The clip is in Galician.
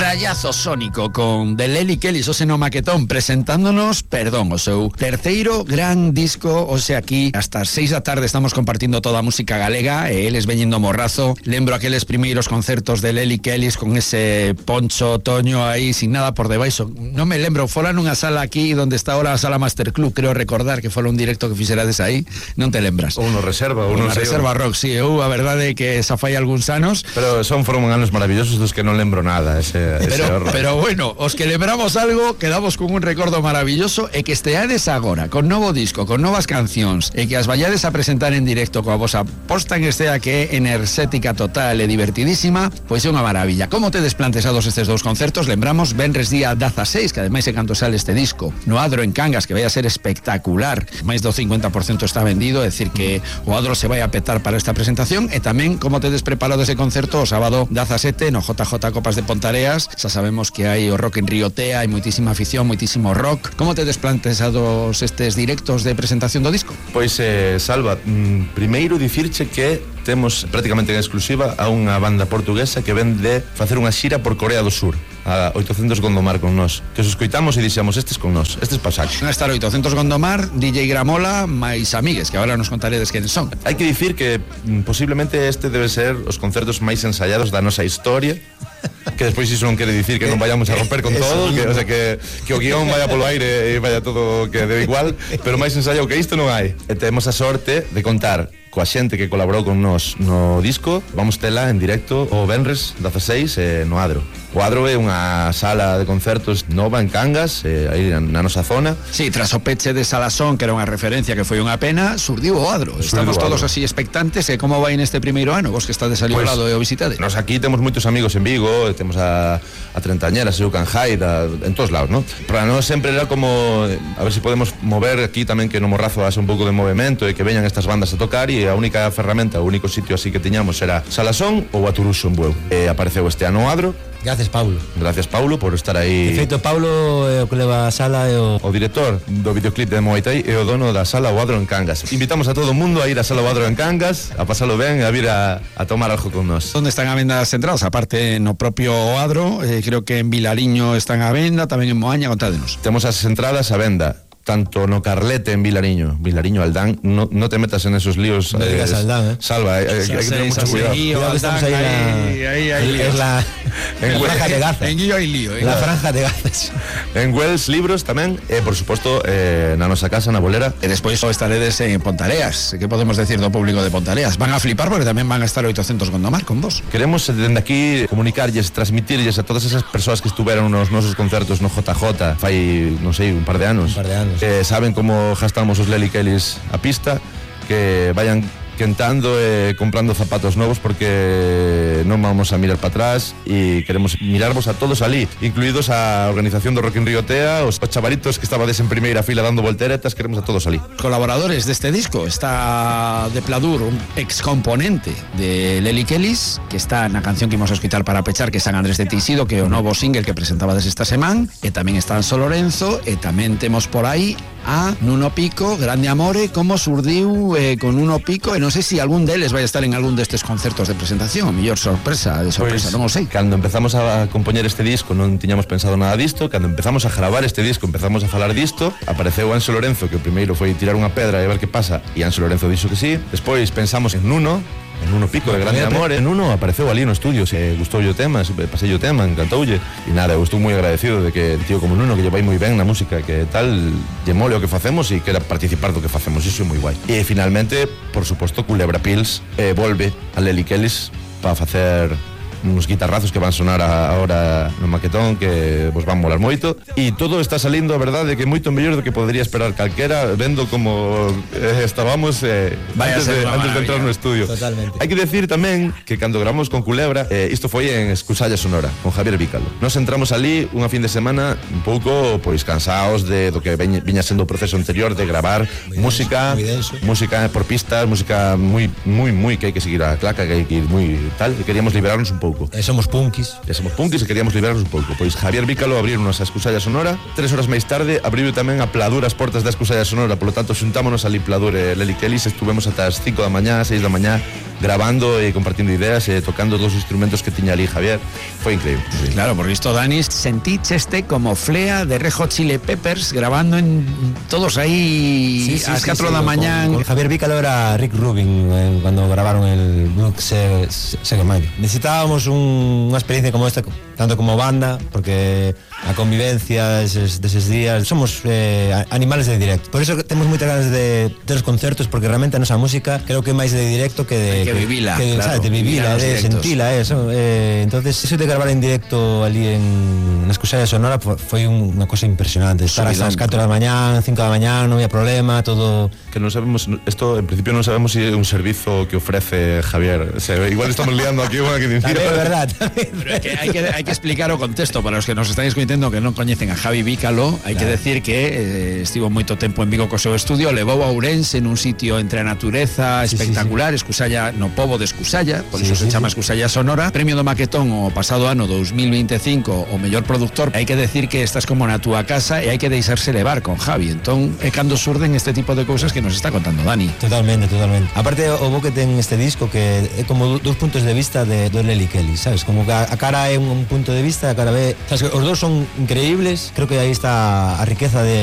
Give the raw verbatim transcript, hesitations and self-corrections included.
Rayazo sónico con de Lely Kellys, o seno maquetón, presentándonos, perdón, o seu terceiro gran disco. O sea, aquí hasta as seis da tarde estamos compartindo toda a música galega e eles veñendo morrazo. Lembro aqueles primeiros concertos de Lely Kellys con ese Poncho Toño aí sin nada por debaixo. Non me lembro, fora nunha sala aquí donde está ahora a sala Master Club, creo recordar que fora un directo que fixerades aí, non te lembras? Ou no Reserva, ou no non sei. Reserva Rock, si, sí, eu a verdade é que esa fai algúns anos. Pero son foron anos maravillosos dos que non lembro nada, ese, ese pero, horror. Pero bueno, os que lembramos algo, quedamos con un recordo maravilloso e que esteades agora, con novo disco, con novas cancións, e que as vayades a presentar en directo coa vosa posta en estea que é enerxética total e divertidísima, pois é unha maravilla. Como tedes planteados estes dous concertos? Lembramos, venres día dezaseis, que ademais é cando sale este disco, no Adro en Cangas, que vai a ser espectacular, máis do cincuenta por ciento está vendido, é dicir que o Adro se vai a petar para esta presentación. E tamén como tedes preparado ese concerto o sábado dezasete no J J Copas de Pontareas. Xa sabemos que hai o rock en Riotea, hai moitísima afición, moitísimo rock. Como tedes planteados estes directos de presentación do disco? Pois, eh, Salva, mm, primeiro dicirche que temos prácticamente en exclusiva a unha banda portuguesa que ven de facer unha xira por Corea do Sur, a oitocentos Gondomar con nós, que os escoitamos e dixemos, estes con nós, estes pasaxos. Van a estar oitocentos Gondomar, D J Gramola, máis amigues, que agora nos contaredes quen son. Hai que dicir que mm, posiblemente este debe ser os concertos máis ensayados da nosa historia, que despois iso non quere dicir que non vayamos a romper con todo, que, o sea, que, que o guión vaya polo aire e vaya todo que debe igual, pero máis ensayado que isto non hai. E temos a sorte de contar coa xente que colaborou con nós no disco. Vamos tela en directo o venres dezaseis eh, no Adro. O Adro é unha sala de concertos nova en Cangas, eh, aí na nosa zona. Sí, tras o peche de Salasón, que era unha referencia que foi unha pena, surdiu o Adro. Estamos todos así expectantes. E como vai neste primeiro ano, vos que estades ali ao lado e o visitade? Nos aquí temos moitos amigos en Vigo, temos a, a Trentañera, Seu Canjai, da, en todos lados, ¿no? Para nós sempre era como, a ver se si podemos mover aquí tamén, que no Morrazo haxe un pouco de movimento e que veñan estas bandas a tocar, e a única ferramenta, o único sitio así que tiñamos era Salasón ou Aturuxo en Bueu. E apareceu este ano o Adro. Gracias, Paulo. Gracias, Paulo, por estar aí. De feito, Paulo é o que leva a sala e o... O director do videoclip de Muay Thai e o dono da sala o Adro en Cangas. Invitamos a todo o mundo a ir a sala o Adro en Cangas, a pasalo ben e a vir a, a tomar algo con nós. Onde están a venda as entradas? Aparte no propio Adro, eh, creo que en Vilariño están a venda, tamén en Moaña, contádenos. Temos as entradas a venda tanto no Carlete en Vilariño, Vilariño Aldán, no, no te metas en esos líos. No digas Aldán, eh. Salva, hay, hay, hay que tener mucho cuidado. Cuidado, estamos ahí, ahí, ahí, ahí es la, en la franja de Gaza. En Guillo hay lío, eh. La franja de Gaza. En Wells, libros tamén, e por suposto eh, na nosa casa, na Bolera. E despois estaredes en Pontareas. Que podemos decir do público de Pontareas? Van a flipar porque tamén van a estar oitocentos Gondomar con vos. Queremos dende aquí comunicarlles, transmitirlles a todas esas persoas que estuveron nos nosos concertos no J J fai, non sei, un par de anos. Un par de anos. Eh, saben como gastamos os Lely Kellys a pista, que vayan quentando e eh, comprando zapatos novos, porque non vamos a mirar para atrás e queremos mirarvos a todos ali, incluídos a organización do Rock in Riotea, os, os chavalitos que estabades en primeira fila dando volteretas, queremos a todos ali. Colaboradores deste disco está de Pladur, un ex componente de Lely Kellys, que está na canción que imos a escutar para pechar, que é San Andrés de Teixido, que é o novo single que presentaba desde esta semana, e tamén está Anso Lorenzo, e tamén temos por aí a Nuno Pico, Grande Amore. Como surdiu eh, con Nuno Pico, e non sei se algún deles vai estar en algún destes concertos de presentación, mellor sorpresa de sorpresa, pues, non o sei. Cando empezamos a compoñer este disco non tiñamos pensado nada disto, cando empezamos a gravar este disco empezamos a falar disto, apareceu Anso Lorenzo, que o primeiro foi tirar unha pedra e ver que pasa, e Anso Lorenzo dixo que sí. Despois pensamos en Nuno, en Nuno Pico, de Grande Amor. En Nuno apareceu ali no estudio, se gustou o tema, pasei o tema, encantoulle, e nada, eu estou moi agradecido de que tío como Nuno, que lle vai moi ben na música, que tal, lle mole o que facemos e quera participar do que facemos, iso é moi guai. E finalmente, por suposto, Culebra Pills eh, volve a Lely Kellys para facer uns guitarrazos que van sonar agora no maquetón, que vos van molar moito, e todo está salindo, a verdade, que moito mellor do que podría esperar calquera, vendo como eh, estábamos eh, antes, de, antes de entrar no estudio. Totalmente. Hai que decir tamén que cando grabamos con Culebra, eh, isto foi en Escusalla Sonora, con Javier Vícalo. Nos entramos ali unha fin de semana un pouco pois cansaos de do que veña, viña sendo o proceso anterior de gravar muy música, denso, música por pistas, música moi moi moi que hai que seguir a claca, que hai que ir moi tal, e queríamos liberarnos un pouco. E somos punkis. E somos punkis e queríamos liberarnos un pouco. Pois Javier Vícalo abrironos a Escusalla Sonora. Tres horas máis tarde abriu tamén a Pladur as portas da Escusalla Sonora. Por lo tanto, xuntámonos ali Pladur e Lely Kellys. Estuvemos ata as cinco da mañá, seis da mañá grabando e compartindo ideas e tocando todos os instrumentos que tiña ali Javier. Foi increíble. Sí. Claro, porque isto, Dani, senticheste como Flea de Red Hot Chili Peppers grabando en todos aí sí, sí, ás sí, catro sí, da con, mañán. Con Javier Vícalo era Rick Rubin eh, cuando grabaron el Blue Segamayo. Necesitábamos un, unha experiencia como esta, tanto como banda, porque a convivencia deses, deses días somos eh, animales de directo. Por eso temos moitas ganas de ter os concertos, porque realmente a nosa música creo que é máis de directo que de que, que vivila, que, claro, sabes, de vivila, de sentila, eso. Eh, entonces eso de gravar en directo ali en na Escusalla Sonora foi unha cosa impresionante. Estar ás catro da mañán, cinco da mañán, non había problema, todo. Que non sabemos, esto en principio non sabemos si é un servizo que ofrece Javier. O sea, igual estamos liando aquí unha que dicir. É verdad. Pero é que hai que hai que explicar o contexto para os que nos están escoitando que non coñecen a Javi Vícalo. Hai claro. que decir que eh, estivo moito tempo en Vigo co seu estudio, levou a Ourense en un sitio entre a natureza sí, espectacular, sí, sí. Escusalla, no pobo de Escusalla, por sí, iso sí, se chama sí. Escusalla Sonora. Premio do Maquetón o pasado ano dos mil veinticinco o mellor productor. Hai que decir que estás como na túa casa e hai que deixarse levar con Javi. Entón, é cando surden este tipo de cousas que nos está contando Dani. Totalmente, totalmente. Aparte, o bo que ten este disco que é como dous puntos de vista de, de Lely Kelly, sabes? Como que a, a cara é un, un punto de vista, a cara B, sabes? Os dous son increíbles. Creo que aí está a riqueza de